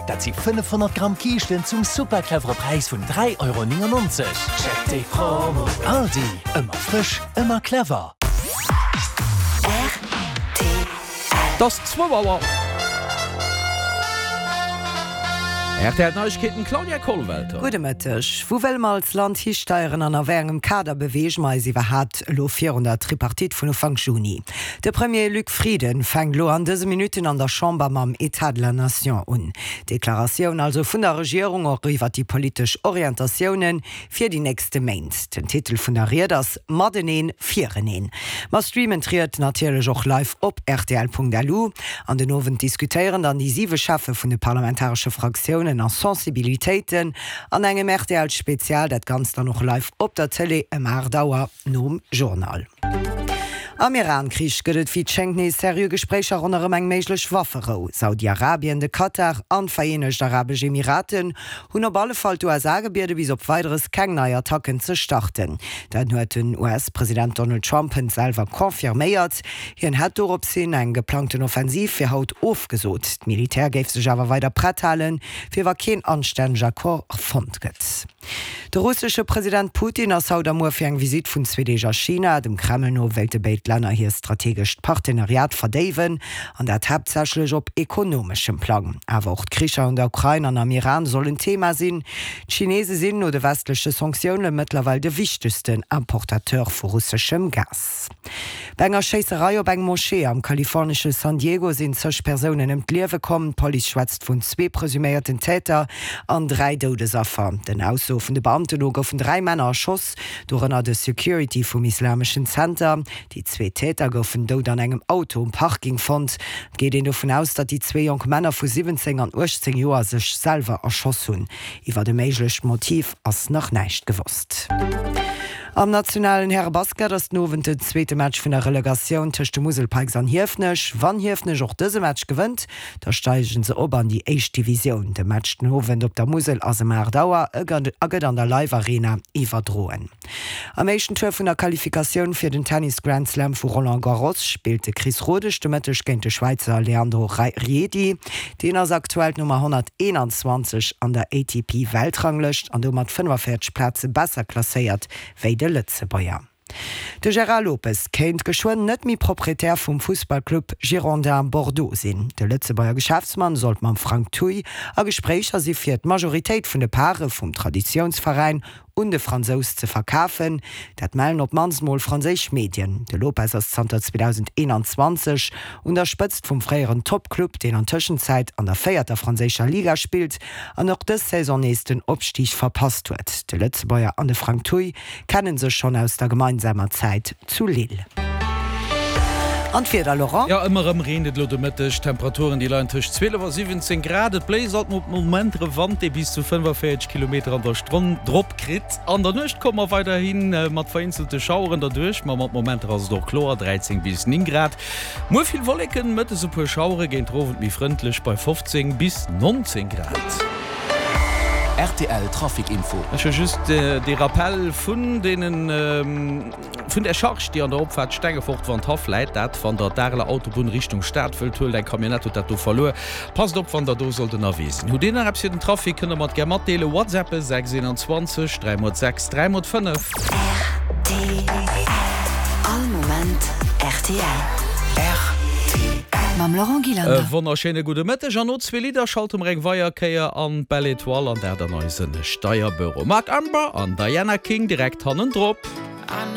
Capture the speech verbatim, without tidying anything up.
Dat si fënnefhonnert Gramm Kiischten zum super clevere Präis vun dräi Euro néngennonzeg. Check déi Promo! Aldi, ëmmer frësch, ëmmer clever. Et ass zwou Auer. Rtl Neiegkeeten, Claudia Kollwelter. Gudde Mëtteg. Wou wëlle mer als Land histeieren an a wéi engem Kader beweege mer eis iwwerhaapt elo virun der Tripartite vun Ufank Juni? De Premier Luc Frieden fänkt elo an dëse Minutten an der Chamber mam État de la Nation un. D'Deklaratioun also vun der Regierung och iwwer déi politesch Orientatiounen fir déi nächste Méint. Den Titel vun der Ried ass Mateneen, fireneen. Mer streamen d'Ried natierlech och live op rtl.lu. An den Owend diskutéieren dann déi siwe Cheffe vun de parlamentaresche Fraktiounen a Sensibilitéiten an engem rtl Spezial, dat Ganzt dann och live op der Tëlee ëm aacht Auer nom Journal. Am Iran-Krich gëtt et wéi et schéngt nees seriö Gespréicher ronderëm eng méiglech Wafferou. Saudi-Arabien, de Katar an d'Vereenegt Arabesch Emiraten hunn op alle Fall d'USA gebiede bis op Weideres keng nei Attacken ze starten. Dat huet den US-President Donald Trump hënt selwer confirméiert. Hien hätt dorops hin eng geplangten Offensiv fir haut ofgesot. D'Militär géif sech awer weider prett halen, fir wa keen anstänneg Accord fonnt gëtt. De russesche President Putin ass haut a muer fir eng Visitt vun zwee Deeg a China. Dem Kreml no wéilte béid Länner hir strategescht Partenariat verdéiwen, an dat haaptsächlech op ekonomeschem Plang. Awer och d'Kricher an der Ukrain an am Iran sollen Thema sinn. D'Chinese sinn no de westleche Sanktioune mëttlerweil de wichtegsten Importateur vu russeschem Gas. Bei enger Schéisserei op eng Moschee am kalifornesche San Diego sinn zeg Persounen ëm d'Liewe komm. D'Police schwätzt vun zwee presuméierten Täter an dräi Doudesaffer. Den Aussoe vun de Beamten no goufen dräi Männer erschoss, dorënner de Security vum islameschen Zenter. Déi zwee Täter goufen dout an engem Auto um Parking fonnt. Et geet een dovun aus, datt déi zwee jonk Männer vu siwwenzéng an uechtzéng Joer sech selwer erschoss hunn. Iwwert e méiglecht Motiv ass nach näischt gewosst. Am nationalen Härebasket ass den Owend den zweete Match vun der Relegatioun tëscht de Musel Pikes an Hiefenech. Wann Hiefenech och dëse Match gewënnt, da steigen se op an déi éischt Divisioun. De Match den Owend op der Musel ass ëm aacht Auer a gëtt an der Live Arena iwwerdroen. Am éischten Tour vun der Qualifikatioun fir den Tennis Grand Slam vu Roland Garros spillt de Chris Rodesch de Mëtteg géint de Schwäizer Leandro Riedi. Deen ass aktuell d'Nummer honnerteenanzwanzeg an der A T P-Weltranglëscht an domat fënnefenvéierzeg Plaze besser klasséiert wéi de Lëtzebuerger. De Gérard Lopez kéint geschwënn net méi Proprietär vum Fussballclub Girondins Bordeaux sinn. De Lëtzebuerger Geschäftsmann sollt mam Frank Thuy a Gespréicher si fir d'Majoritéit vun de Pare vum Traditiounsveräin un de Fransous ze verkafen. Dat mellen op d'mannst mol franséisch Medien. De Lopez ass zanter zweedausendeenanzwanzeg un der Spëtzt vum fréieren Toppclub, deen an Tëschenzäit an der véierter franséischer Liga spillt an och dës Saison nees den Opstig verpasst huet. De Lëtzebuerger an de Frank Thuy kenne sech schonn aus der gemeinsamer Zäit zu Lille. An d'Wieder, Laurent? Jo, ëmmer erëm reent et elo de Mëtteg. D'Temperaturen, déi leien tëscht zwielef a siwwenzéng Grad. Et bléist alt mat Momenter e Wand, dee bis zu fënnefenvéierzeg Kilometer an der Stonn drop kritt. An der Nuecht komme mer weiderhi mat vereenzelte Schaueren derduerch, ma mat Momenter ass et och kloer, dräizéng bis néng Grad. Muer vill Wolleken, mëttes e puer Schauere, géint den Owend méi frëndlech bei fofzéng bis nonzéng Grad. Rtl Trafic Info. Ech hu just dee Rappell vun deenen, vun där Charge, déi an der Opfaart Stengefort Wandhaff läit. Dat wann der d'Areler Autobunn Richtung Stad wëllt huelen. Eng Camionnette huet dat do verluer. Passt op wann der do sollt ënnerwee sinn. Hutt Dir nach eppes fir den Trafic, kënnt der mer et gär matdeelen. Whatsappe sechs eenanzwanzeg dräi mol sechs dräi mol fënnef. Rtl. All Moment rtl. Rtl. Mam Laurent E Gillander. wonnerschéine gudde Mëtteg an no zwee Lidder schalte mer eng weier Kéier an d'Belle Étoile an dat an eise Steierbüro. Marc Amber an Diana King direkt hannendrop.